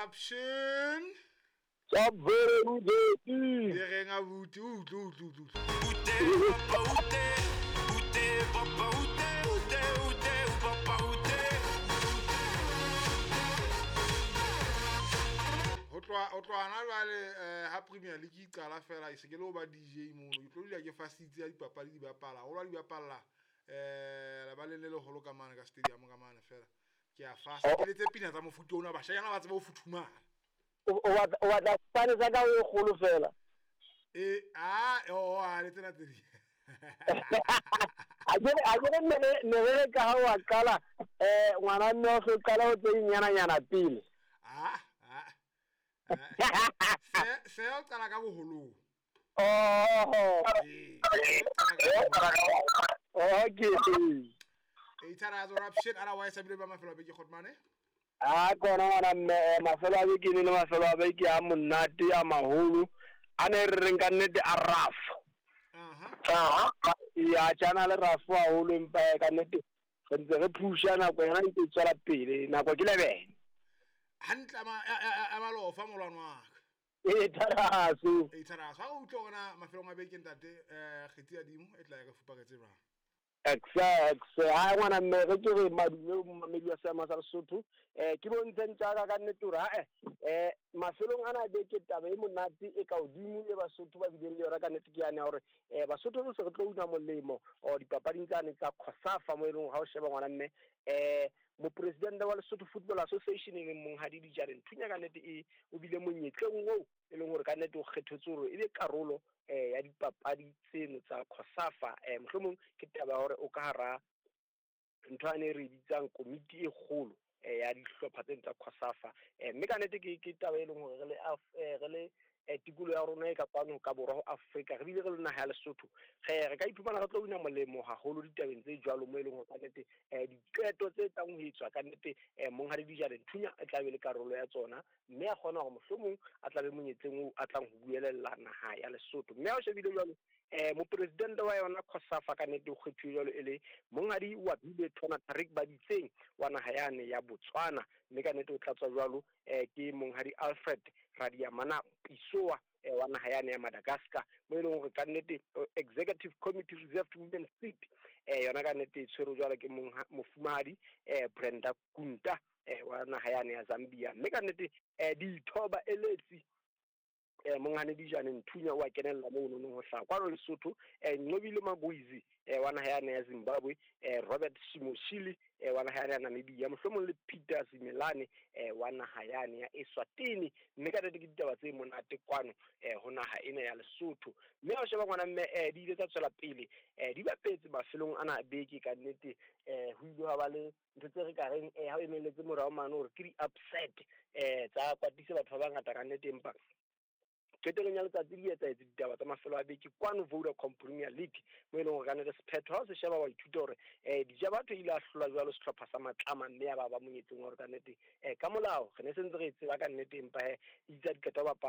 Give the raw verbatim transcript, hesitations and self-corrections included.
Option. Tsa bere. Di reng abuti, utlwe utlwe utlwe. Ute papa ute, ute papa ute, ute ute papa ute. Ho tloha ho tloha hona jwale eh ha Premier League e qala fela e se ke le ho ba D J mono. Ke tlo dula ke fasitse ya dipapadi di bapala. Ho lwa di bapalla eh lebaleng le leholo ka mane ka stadium ka mane fela. Ke a fasa ke letse pina tsa mofuta ona bashanyana ba tsebe ho futhumala. O batla o batla sefane sa ka o kgolo fela. E a o a le tsena tse di. A ke a ke ne ne re ka ha wa qala eh ngwana mme o so qala ho tse nyana nyana pele. Ah ah. Se se o qala ka boholong. Oh. Eh. Okay. E tsara zo raption otherwise a bile ba mafelo a beke Khotmane. A kona ngwana mme mafelo a beke le mafelo a beke a monate a maholo a ne re reng ka nnete a rough. Aha. Ya tjana le rough haholo empa ka nnete re ntse re pusha nako yona e tswela pele nako ke lebene. Hantle ma a malofa molwana wa ka. E tharaso. E tharaso. Ha o utlwa hore mafelong a beke ntate eh kgetsi ya dimo e tla ya re fuparetse jwang. Exact. Ha ngwana mme re ke re madume momamedi wa seama sa Lesotho eh ke bontseng tsa ka nnete hore ha eh mafelong ana beke taba e monate e ka hodimo le Basotho ba bileng le yona ka nnete ke yane hore eh Basotho re se re tlo una molemo o dipapading tsane tsa COSAFA mo e leng ha o sheba ngwana mme eh mopresidente wa Lesotho Football Association e leng monghadi Dijane Nthunya ka nnete e o bile monyetleng oo e leng hore ka nnete o kgethetswe hore e be karolo eh ya dipapadi tseno tsa COSAFA eh mohlomong ke taba hore o ka hara ntho ane re bitsang komiti e kgolo eh ya dihlopha tseno tsa COSAFA eh mme ka nnete ke ke taba e leng hore re le re le tikoloho ya rona e ka kwano ka borwa ho Afrika re bile re le naha ya Lesotho re re ka iphumana re tlo wina molemo haholo ditabeng tse jwalo mo e leng hore ka nnete eh diqeto tse tlang ho etswa ka nnete eh monghadi Dijane Nthunya e tla be le karolo ya tsona mme a kgona hore mohlomong a tla be monyetleng oo a tlang ho buelella naha ya Lesotho mme ha o shebile jwalo eh mopresidente wa yona COSAFA ka nnete o kgethuwe jwalo e le monghadi wa bile Thona Tarik Baditseng wa naha yane ya Botswana mme ka nnete o tlatswa jwalo eh ke monghadi Alfred Radiamana Pisoa eh wa naha yane ya Madagascar mo e leng hore ka nnete Executive Committee Reserved Women Seat eh yona ka nnete e tshwerwe jwalo ke mofumahadi eh Brenda Kunta eh wa naha yane ya Zambia mme ka nnete eh ditho ba eletsi eh monghane Dijane Nthunya wa kenella mo nonong ho hlaha kwano Lesotho eh Nqobile Maboizi eh wa naha yane ya Zimbabwe eh Robert Simoshili eh wa naha ya Namibia mohlomong le Peter Simelane eh wa naha yane ya Eswatini mme ka nnete ke ditaba tse monate kwano eh ho naha ena ya Lesotho mme ha o sheba ngwana mme eh di ile tsa tswela pele eh di bapetse mafelong ana beke ka nnete eh ho ile ha ba le ntho tse re ka reng eh ha o emeletse morao mane hore ke di-upset eh tsa kwatisa batho ba bangata ka nnete empa qetellong ya letsatsi di etsahetse ditaba tsa mafelo a beke kwano Vodacom Premier League mo e leng hore ka nnete sephetho ha o se sheba wa ithuta hore eh Dijabatho ile a hlola jwalo sehlopha sa Matlama mme ya ba ba monyetseng hore ka nnete eh ka molao re ne se ntse re e tseba ka nnete empa he itse di qeta ho bapala.